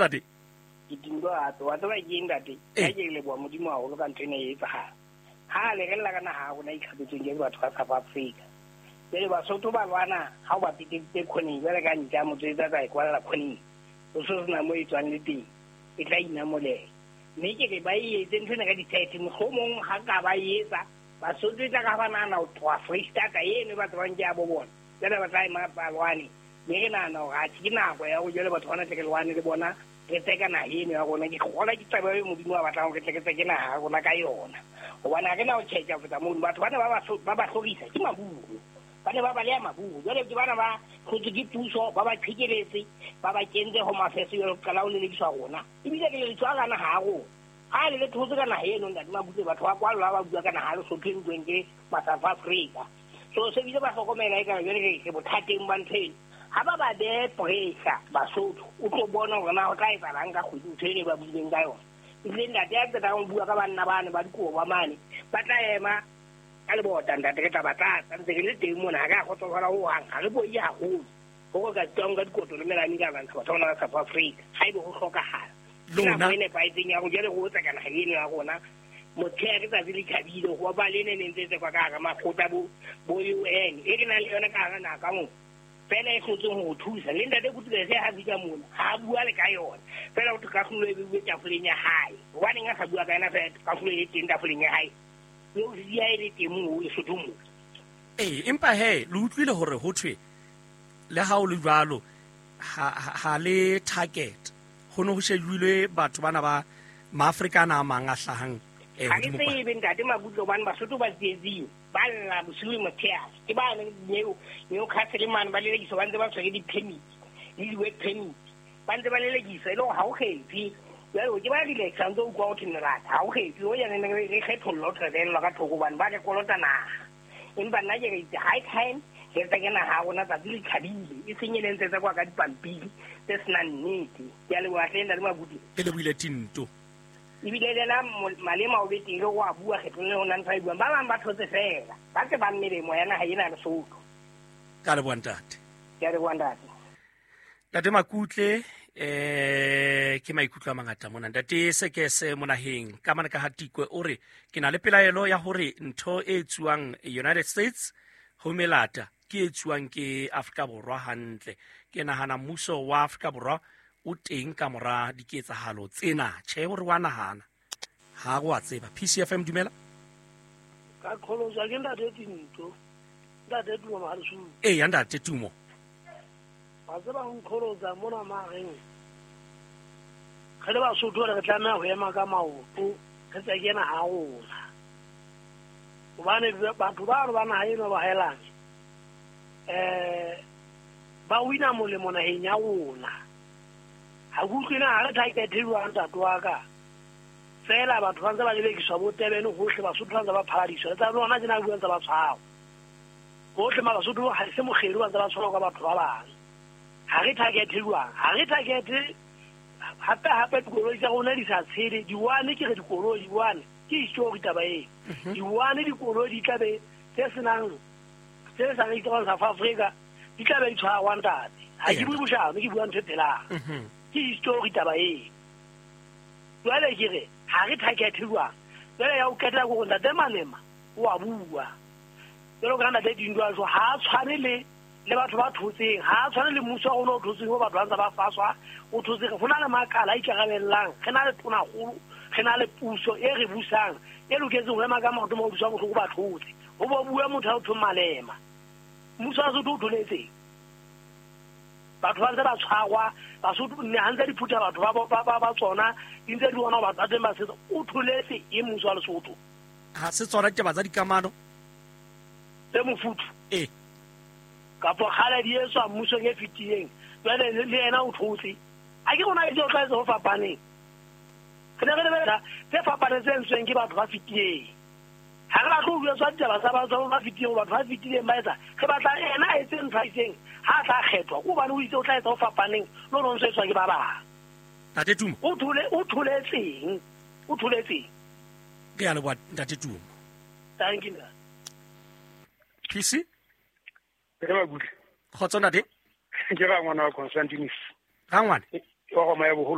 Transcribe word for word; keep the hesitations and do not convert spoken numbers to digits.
ntate. Ke tinto hape wa tseba ke eng ntate? Ka ke leboha Modimo haholo ka ntho ena e etsahala. Ha le re lla ka naha ya rona e itlhapetsweng ke batho ba South Africa. Jwale Basotho ba lwana ha o ba peteditse khoneng jwale ka ntja motho e tsa e kwalla khoneng. O so sena mo e tswang le teng. E tla inamolela. Mme ke re ba e etse ntho ena ka di-tight mohlomong ha ka ba e etsa Basotho e tla ka ba nahana ho tloha Freistata eno e ba tsebang ke ya bo bona. Jwale ba tla ema ba lwane. Mme re nahana hore atjhe ke nako ya hore jwale batho bana tle re lwane le bona re tseka naha eno ya rona. Ke kgolwa ke taba eo Modimo a batlang hore re tle re tseke naha ya rona ka yona. Hobane ha re na ho tjhetja ho feta mono. Batho bana ba ba ba ba hlorisa ke maburu. Ba ne ba baleha maburu. Jwale ke bana ba hlotswe ke puso, ba ba qhekeletse, ba ba kentse ho mafeso jwale ho qala ho lelekiswa rona. Ebile re lelekiswa ka naha ya rona. Ha le le thotse ka naha eno ntate Mabutle, batho ba kwallwa ba bua ka naha ya Lesotho e nkuweng ke ma-South Africa. So se bile ba hlokomela ekare jwale re bothateng ba ntho eno. Ha ba ba behe pressure Basotho, o tlo bona hore na ho tla etsahalang ka kgwedi ntho eno e ba buileng ka yona. Ebile ntate ya qetang ho bua ka banna bane ba dikobo ba mane, ba tla ema ka lebota ntate re tla ba tlatsa ntse re le teng mona ha re a kgotsofala hohang, ha re boi haholo. Hore ka tswang ka dikoto le melane ka lwantsha batho bana ba South Africa haebe ho hlokahala. Lona Nako e nepahetseng ya hore jwale re otsa ka naha eno ya rona. Motshehare tsatsi le tjhabile ho ba le ne ne ntse tsekwa ka hara makgotla bo, bo U N e re nang le yona ka hara naha ka moo. Fela e hlotseng ho thusa. Le ntate Kutlwele ha fihla mona, ha a bua le ka yona. Fela ho thwe kahlolo e beuwe tafoleng ya hae. Hobaneng a sa bua ka yona fela kahlolo e teng tafoleng ya hae? Eo ya e le teng moo Lesotho moo. Ee, empa he le utlwile hore ho thwe le ha o le jwalo ha, ha, ha le target ho ne ho shejilwe batho bana ba Maafrika ana a mang a hlahang eh Ha ke hodimo kwa. tsebe ntate Mabutle hobane Basotho ba tsietsing. Ba lla bosiu le motshehare. Ke ba neo Newcastle mane ba lelekiswa ba ntse ba tshwere di-permit le di-work permit. Ba ntse ba lelekiswa e le hore ha o kgethe. Jwale ke ba relaxa ntse o utlwa ho thwe melata ha o kgethe. O jane re re kgethollwa ho thwe ka thoko hobane ba re kolota naha. Empa nna ke re itse high time re tseke naha ya rona tsatsi le tjhabile. E seng e le ntse tsekwa ka dipampiri tse senang nnete. Ke a leboha hle ntate Mabutle. Ke lebohile Tinto. Ebile le na Malema o be teng le ho a bua kgetlong le ho na ntho a e buang. Ba bang ba thotse fela. Ba tsebang melemo ya naha ena ya Lesotho. Ka leboha ntate. Ke a leboha ntate. Ntate Makutle eh ke maikutlo a mangata mona. Ntate Sekese monaheng ka mane ka Hatikwe o re ke na le pelaelo ya hore ntho e etsuwang United States ho melata ke e etsuwang ke Afrika Borwa hantle. Ke nahana mmuso wa Afrika Borwa o teng ka mora diketsahalo tsena. Tjhe, hore wa nahana ha re wa tseba. P C F M dumela. Ka kgoloswa ke ntate Tinto. Ntate Tumo Mahalesudu. Ee, ya ntate Tumo. Ba tseba ho nkholosa mona mareng. Re le Basotho re tlameha ho ema ka maoto re tseke naha ya rona. Hobane batho bano ba naha eno ba haelane eh ba wina molemo naheng ya rona. Ha ke utlwe na ha re target jwang ntate wa ka. Fela batho ba ntse ba lelekiswa bo Durban hohle, Basotho ba ntse ba phaladiswa. Le tsa lona tjena bua ntse ba tshwarwa. Hohle ma Basotho ha se mokgelo ba ntse ba tshwarwa ka batho ba bang. Ha re target jwang? Ha re target hape hape dikoloi tsa rona di sa tshele. Diwane ke re dikoloi diwane ke histori taba eo. Diwane dikoloi di tla be tse senang tse sa registrwang South Africa di tla be di tshwarwa ntate. Ha ke bue boshano, ke bua ntho e phelang. Ke histori taba eo. Jwale ke re ha re target jwang? Jwale ya o qetela ke hore ntate Malema o a bua. Jwalo ka ntate Dinto a jwa, ha a tshwane le le batho ba thotseng, ha a tshwane le mmuso wa rona o thotseng ho batho ba ntse ba faswa, o thotseng. Ho na le makala a ikarabellang, re na le tonakgolo, re na le puso e re busang, e loketseng ho ema ka maoto mo busang bohloko ba thotse. Ho bo bua motho a thong Malema. Mmuso wa Sotho o tholetseng. Batho ba ntse ba tshwarwa, Basotho ne ha ntse di phutha batho ba ba ba ba tsona, di ntse di bona batho ba teng ba setso. O tholetse e mmuso wa Lesotho. Ha se tsona ditaba tsa dikamano tse mofuthu. Ee. Kapo kgale di etswa mmusong e fetileng. Jwale le yena o thotse. A ke rona ke o tlwaetse ho fapaneng. Re ne re lebella tse fapaneng tse entsweng ke batho ba fetileng. Ha re batle ho jwetswa ditaba tsa batho ba fetileng, batho ba fetileng ba etsa. Re batla yena a etse ntho a itseng, ha a tla kgethwa, ke hobane o itse o tla etsa ho fapaneng le ho ntso etswa ke ba bang. Ntate Tumo. O thole, o tholetseng. O tholetseng. Ke a leboha Ntate Tumo. Thank you. P C? Ke Mabutle. Kgotso ntate. Ke rangwana wa Constantinus. Rangwane? Wa Roma ya boholo.